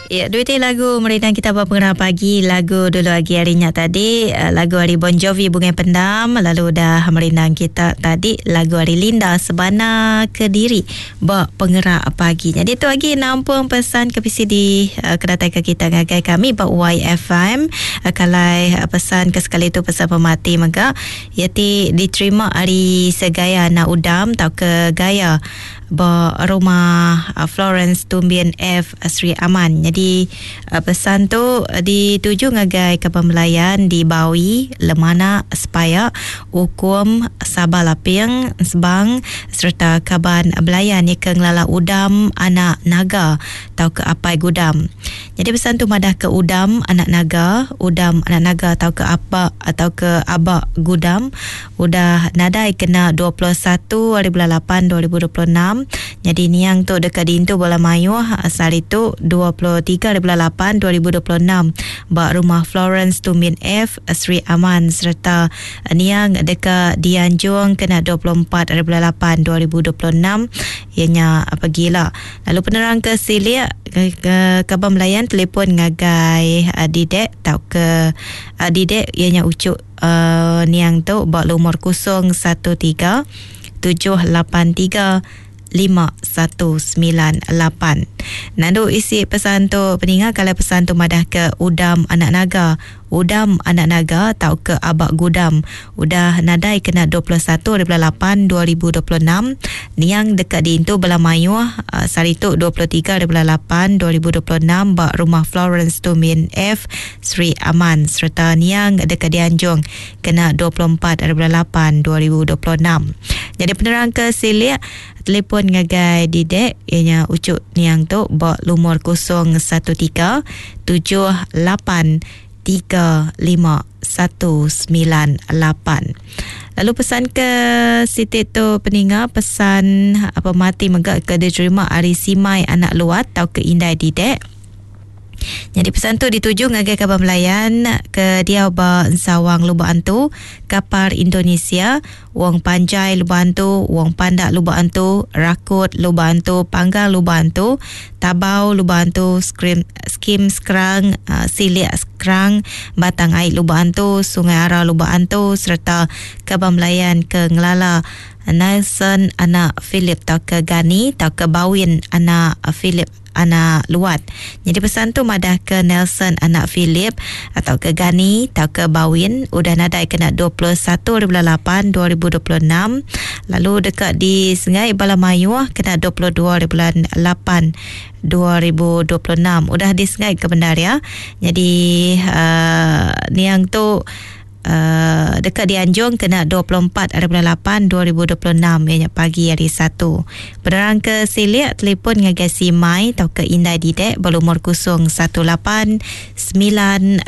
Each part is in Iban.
Ya, duit lagu merindang kita ba pengerah pagi lagu dulu agi hari nya tadi eh, lagu hari Bon Jovi Bungai Pendam lalu udah merindang kita tadi lagu hari Linda Sebana Kediri ba pengerak pagi. Jadi tu agi nampung pesan ke PC di uh, kedatai ke kita ngagai kami ba YFM uh, kalai uh, pesan ke sekali tu pesan pemati mega ia ti diterima hari Segaya anak udam tau ke gaya ba rumah Florence Tumbin F Sri Aman. Jadi pesan tu dituju ngagai kaban belayan di Bawi, Lemana, Sepaya, Ukum, Sabah Laping, Sebang sereta kaban belayan ke ngelala Udam anak Naga tau ke Apai Gudam. Jadi pesan tu madah ke Udam anak Naga, Udam anak Naga tau ke apa atau ke Abak Gudam udah nadai kena 21 hari bulan 8 2026. Jadi niang tu dekat dintu bola mayuh sehari tu 23 hari bulan 8 2026 ba rumah Florence Tumin F Sri Aman serta niang dekat dianjung kena 24 hari bulan 8 2026 ianya pagila. Lalu penerang ke silik ke, ke kaban belayan telefon ngagai Didek tau ke Didek ianya ucuk niang tu ba lumur 013 783 5198. Nandu isi pesan tu peninga kalau pesan tu madah ke Udam anak naga, Udam anak naga tau ke Abak Gudam udah nadai kena 21 hari bulan 8 2026 niang dekat diintu bela mayuh sehari tu 23 hari bulan 8 2026 ba rumah Florence Tumin F Sri Aman serta niang dekat dianjung kena 24 hari bulan 8 2026. Jadi penerang ke silik telefon ngagai Didek ianya ucuk niang tu ba lumur 013 78 3 5 1 9 8. Lalu pesan ke Siti tu peninga pesan apa mati mega ke diterima ari Simai anak Luat tau ke Indai Didek. Jadi pesan tu dituju ngagai kaban belayan ke diau ba Ensawang Lubok Antu, Kapar Indonesia, Wong Panjai Lubok Antu, Wong Pandak Lubok Antu, Rakut Lubok Antu, Panggang Lubok Antu, Tabau Lubok Antu, Skrim, Skim Skrang, Silik Skrang, Batang Ai Lubok Antu, Sungai Ara Lubok Antu serta kaban belayan ke ngelala Nelson anak Philip tau ke Gani tau ke Bawin anak Philip anak Luat. Jadi pesan tu madah ke Nelson anak Philip atau ke Gani atau ke Bawin udah nadai kena 21 bulan 8 2026 lalu dekat di Sengai Bala Mayuh kena 22 bulan 8 2026 udah di Sengai ke bendar ya. Jadi niang tu dekat dianjung kena 24 hari bulan 8 2026 ianya pagi hari 1. Penerang ke silik telefon ngagai Simai atau ke Indai Didek berlumur 018 958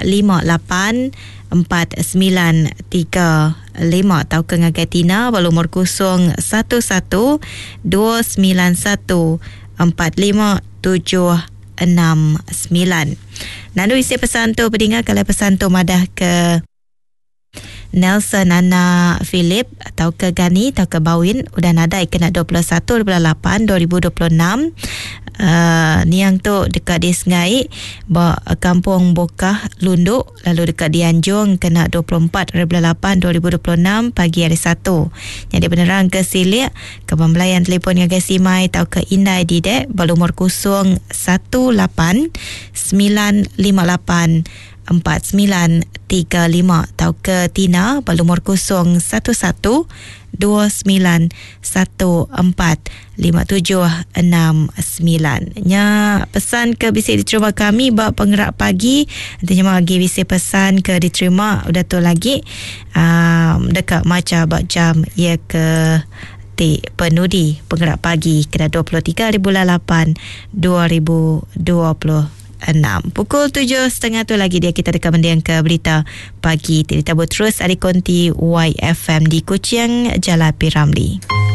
4935 atau ke ngagai Tina berlumur 011 291 45769. Nandu isi pesan tu berdinga kalau pesan tu madah ke Nelson anak Philip atau ke Gani atau ke Bawin udah nadai kena 21 bulan 8 2026 niang tu dekat di Sengai ba kampung Bokah Lunduk lalu dekat di Anjung kena 24 bulan 8 2026 pagi hari 1. Jadi penerang ke silik ke pembelayan telefon ngagai Simai atau ke Indai Didek berlumur 018 958 4935 atau ke Tina berlumur 011 2914 5769. Nya pesan ke bisa diterima kami ba penggerak pagi. Nanti nya lagi bisa pesan ke diterima udah tu lagi dekat maca ba jam ia ke ti penudi penggerak pagi kena 23 hari bulan 8 2026. Pukul 7.30 tu lagi dia kita dekat mendiang ke berita pagi. Kita terus ada konti YFM di Kuching, Jalan P. Ramlee.